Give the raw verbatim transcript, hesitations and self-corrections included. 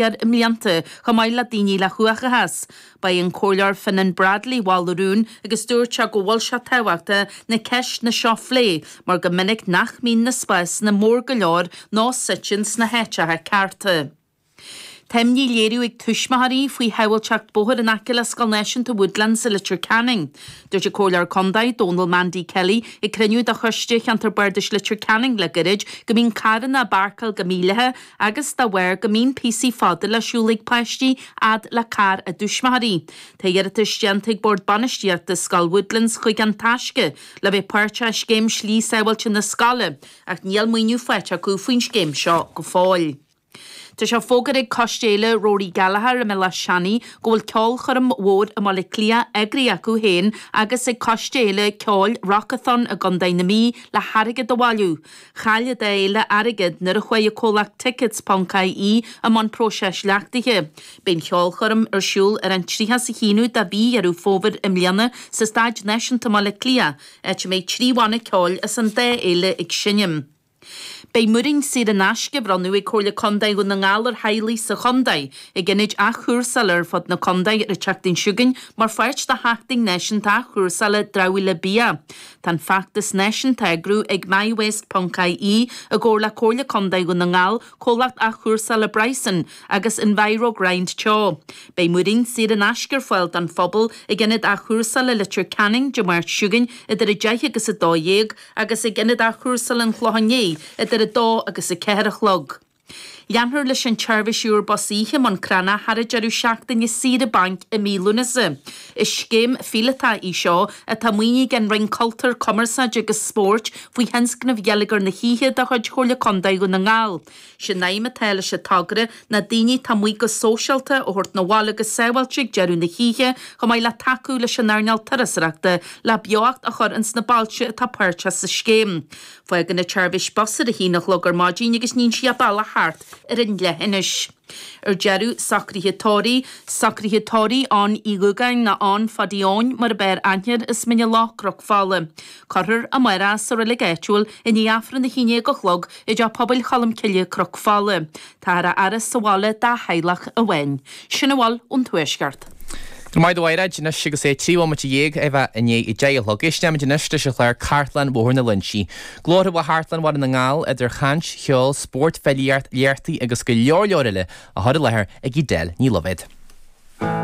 i mblianta, chomh maith le daoine le huathachas. Ba é an Comhairleoir Finan Bradley mhol an rún agus dúirt sé go bhfuil sé tábhachtach na ceisteanna seo a phlé mar go minic nach mbíonn na spásanna mór go leor nó suite sna háiteacha cearta. Tá imní á léiriú ag tuismitheoirí faoi shábháilteacht bóthair in aice le Scoil Náisiúnta Woodlands i Leitir Ceanainn. Dúirt an Comhairleoir Contae Dónal Mandy Kelly ag cruinniú de choiste Cheantar Bardais Leitir Ceanainn le gairid go mbíonn carranna ag páirceáil go mídhleathach agus dá bharr go mbíonn píosaí fada le siúl ag páistí fhad le carr a dtuismitheoirí. Tá iarratas déanta ag Bord Bainistíochta Scoil Woodlands chuig An Taisce le bheith páirteach i scéim slí sábháilte na scoile ach níl maoiniú faighte acu faoin scéim seo go fóill. Tá sé fógartha ag Coiste Fhéile Rory Gallagher i mBéal Átha Seanaidh go bhfuil ceolchoirm mhór i mBaile Átha Cliath eagraithe acu féin agus ag Coiste Fhéile Ceoil Rockathon i gContae na Mí le hairgead a bhailiú. Chaill an dá fhéile airgead nuair a chuaigh an comhlacht Tickets.ie i mbun próiseas leachtaithe. Beidh an cheolchoirm ar siúl ar an tríocha is a haonú de mhí Dheireadh Fómhair i mbliana sa Staid Náisiúnta i mBaile Átha Cliath, áit a mbeidh trí bhanna ceoil as an dá fhéile ag seinm. Beidh múirín saor in aisce á bhronnadh ag Comhairle Contae Dhún na nGall ar theaghlaigh sa chontae ag ionaid athchúrsála ar fud na contae ar an tseachtain seo chugainn mar pháirt de Sheachtain Náisiúnta Athchúrsála Dramhaíola Bia. Tá an feachtas náisiúnta á eagrú ag MyWaste.ie i gcomhar le Comhairle Contae Dhún na nGall, Comhlacht Athchúrsála Bryson agus Envirogrind Teo. Beidh múirín saor in aisce ar fáil don phobal ag ionad athchúrsála Leitir Ceanainn Dé Máirt seo chugainn idir a deich agus a dó dhéag agus ag ionad athchúrsála an Chlocháin Léith idir a dó agus a ceathair a chlog. Leanfar leis an tseirbhís úr bus oíche i mBun Cranncha thar an deireadh seachtaine saoire bainc i mí Lúnasa. Is scéim phíolótach í seo atá maoinithe ag an Roinn Cultúir, Cumarsáide agus Spóirt faoi thionscnamh Gheilleagar na hOíche de chuid Chomhairle Contae Dhún na nGall. Sin aidhm atá leis an togra ná daoine atá amuigh go sóisialta a thabhairt 'na bhaile go sábháilte ag deireadh na hoíche chomh maith le tacú leis an earnáil turasóireachta le beocht a chur ins na bailte atá páirteach sa scéim. Fágann an tseirbhís bus ar a haon a chlog ar maidin agus níonn sí a bealach thart ar an leithinis. Ar deireadh, socruithe tórraimh, socruithe tórraimh Eoin Uí Dhúgáin nó Eoin Phadaí Eoin mar ab fhearr aithne air as Mín an Loch, Cnoc Fola. Cuirfear amárach sa reilig áitiúil i ndiaidh Aifreann a haon déag a chlog i dTeach Pobail Cholm Cille, Cnoc Fola. Táthar á fhaire sa bhaile dá theaghlach amháin. Sin a bhfuil ón Tuaisceart. Go raibh maith agat a Mhairéad, anois agus é trí bhomaite dhéag a bheith i ndiaidh a deich a chlog. Éistfimid anois leis an chlár Cartlann Bhóthar na Loinsí. Glórtha ó Chartlann Bhaile na nGall idir chaint, cheol, spórt, filíocht, léachtaí agus go leor leor eile á chur i láthair ag Edel Ní Loibhéad.